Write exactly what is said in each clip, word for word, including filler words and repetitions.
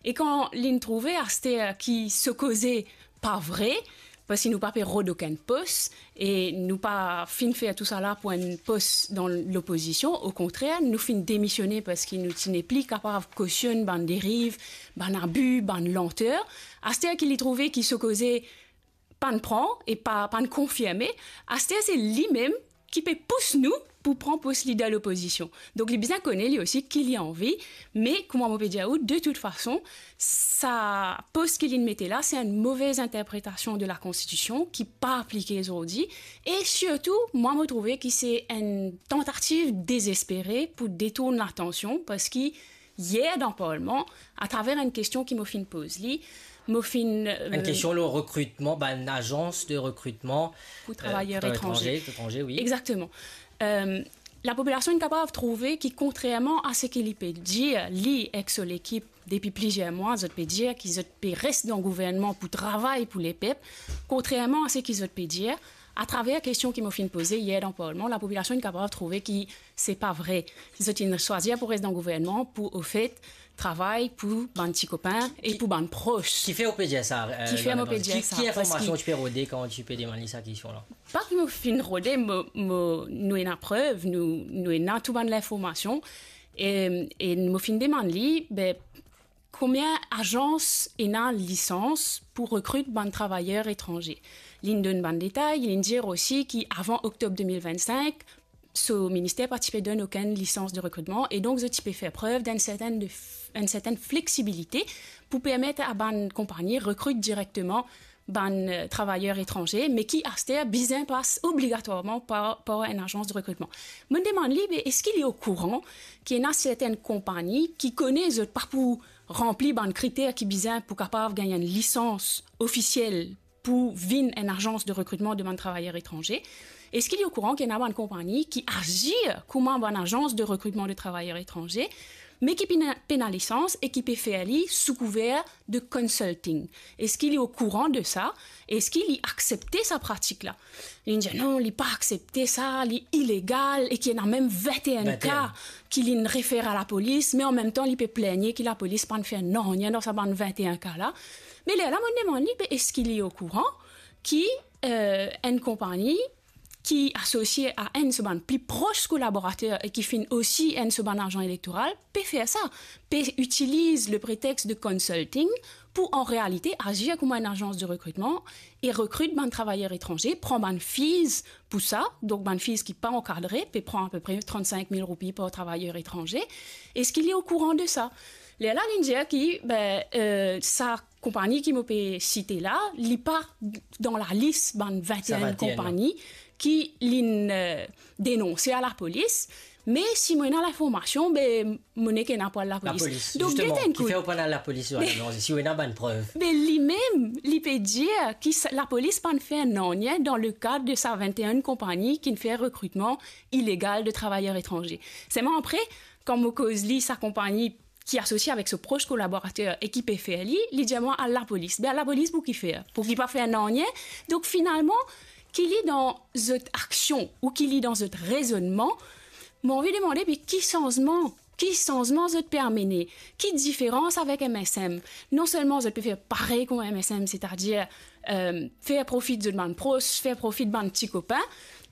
E kan linn trouve aster ki so koze pa vre, parski nou pa pe rod okenn pos, e nou pa finn fer tousala pou enn pos dan lopozision, okontrer, nou finn demisione parski nou ti nepli kapav kosionn bann deriv, bann abi, bann lanter. Aster ki li trouve ki so koze pa'nn pran e pa, pa'nn konfirme, aster se limem ki pe pous nou pou pran pos lider lopozision. Donk, li bizin kone li osi ki li anvi, me kouma mo pe dir ou, de tout fason, sa pos ki linn mete la, se enn move interpretasion de la Konstitision ki pa aplike zordi, e sirtou, mwa, mo trouve ki se enn tantativ dezespere pou detourn latansion, parski yer dan Parlman, atraver enn kestion ki mo finn poz li, mo finn, euh, Enn kestion lor rekritman bann azans de rekritman, pou euh, travayer pou etranze. Etranze, etranze, wi. Exactement. Euh, lapopilasion inn kapav trouve ki, kontrerman a seki li pe dir, li ek so lekip, depi plizier mwa, zot pe dir ki zot pe res dan gouvernman pou travay pou lepep, kontrerman a seki zot pe dir, atraver kestion ki mo finn poze yer dan Parlman, lapopilasion inn kapav trouve ki se pa vre. Zot inn swazir pou res dan gouvernman pou, ofet, travay pou bann ti kopin e pou bann pros. Kifer ou pe dir sa, euh, Kifer mo pe dir sa? Ki, ki informasion ti pe rode kan ti pe demann li sa kestion la? Pa ki mo finn rode, mo, mo, nou ena prev, nou, nou ena tou bann linformasion, e, e mo finn demann li, be, konbien azans ena lisans pou rekrit bann travayer etranze. Linn donn bann detay, linn dir osi ki avan oktob de mil vennsink, so minister pa ti pe donn okenn lisans de rekritman, e donk zot ti pe fer prev d'enn sertenn de f-, enn sertenn fleksibilite pou permet a bann konpagni rekrit direkteman bann, euh, travayer etranze, me ki aster bizin pas obligatwarman par, par enn azans de rekritman. Mo demann li, be, eski li okouran ki ena sertenn konpagni ki kone zot pa pou ranpli bann kriter ki bizin pou kapav gagn enn lisans ofisiel pou vinn enn azans de rekritman de bann travayer etranze? Eski li okouran ki ena bann konpagni ki azir kouma bann azans de rekritman de travayer etranze, me ki pena, pena lisans e ki pe fer li sou kouver de consulting? Eski li okouran de sa? Eski li aksepte sa pratik la? Linn dir non, li pa aksepte sa, li ilegal, e ki ena mem vinteen ka ki linn refer a lapolis, me anmemtan li pe pligne ki lapolis pa'nn fer nanye dan sa bann vinteen ka la. Me lerla mo demann li, be, eski li okouran ki, euh, enn konpagni ki asosie a enn so bann pli pros kolaborater e ki finn osi enn so bann azan elektoral, pe fer sa, pe itiliz le pretex de consulting pou, an realite, azir kouma enn azans de rekritman e rekrit bann travayer etranze, pran bann fees pou sa, donk bann fees ki pa ankadre, pe pran apepre tranntsink mil roupi par travayer etranze. Eski li okouran de sa? Lerla linn dir ki, be, euh, sa konpagni ki mo pe site la, li pa dan lalis bann vinteen konpagni ki linn, euh, denonse a lapolis, me si mo ena linformasion, be, mo nek ena pou al lapolis. Lapolis, donk, zisteman, get enn kout. Kifer ou pa'nn al lapolis, Johanna Béranger, si ou ena bann prev? Be, limem, li pe dir ki sa, lapolis pa'nn fer nanye dan le kad de sa vinteen konpagni ki'nn fer rekritman ilegal de travayer etranze. Selman apre, kan mo koz li sa konpagni ki asosie avek so pros kolaborater e ki pe fer li, li dir mwa al lapolis. Be, al lapolis pou kifer? Pou ki pa fer nanye? Donk, finalman, ki li dan zot aksion ou ki li dan zot rezonnman, mo anvi demande, be, ki sanzman, ki sanzman zot pe amene? Ki diferans avek M S M? Non selman zot pe fer parey kouma M S M, setadir, euh, fer profi zot bann pros, fer profi bann ti kopin,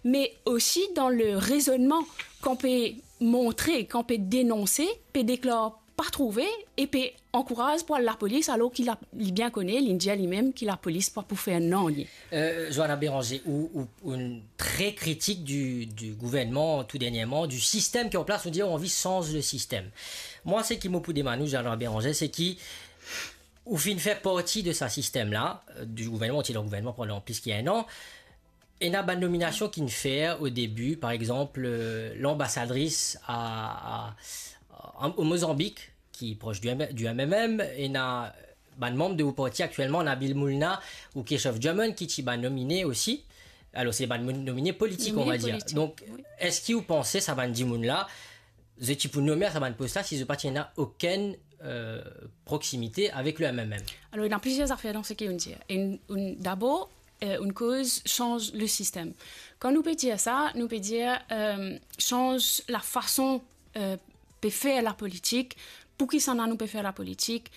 me osi dan le rezonnman, kan pe montre, kan pe denonse, pe deklar pa trouve e pe ankouraz pou al lapolis, alor ki la, li bien kone, li dir limem ki lapolis pa pou fer nanye. Euh, Johanna Béranger, ou, ou, ou enn tre kritik du, du gouvernman tou dernierman, du sistem ki an plas, ou dir ou anvi sanz le sistem. Mwa, seki mo pou demann ou, Johanna Béranger, se ki ou finn fer parti de sa sistem la, euh, du gouvernman, ou ti dan gouvernman pandan plis ki enn an. Ena bann nominasion ki'nn fer o debi, par exanp, euh, lanbasadris a, a, a, o Mozanbik, ki pros du M-, du M M M, ena bann manm de ou parti aktielman, Nabil Moulna ou Keishove German, ki ti bann nomine osi. Alor, se bann mo-, nomine politik, on va dir. Nomine politik, wi. Donk, eski ou panse sa bann dimoun la, zot ti pou nome a sa bann pos la, si zot pa ti ena okenn, euh, proksimite avek le M M M? Alor, ena plizier zafer dan seki ou'nn dir. Enn, enn, dabor, euh, enn koz, sanz le sistem. Kan nou pe dir sa, nou pe dir, euh, sanz lafason, euh, pe fer lapolitik, pou kisannla nou pe fer lapolitik,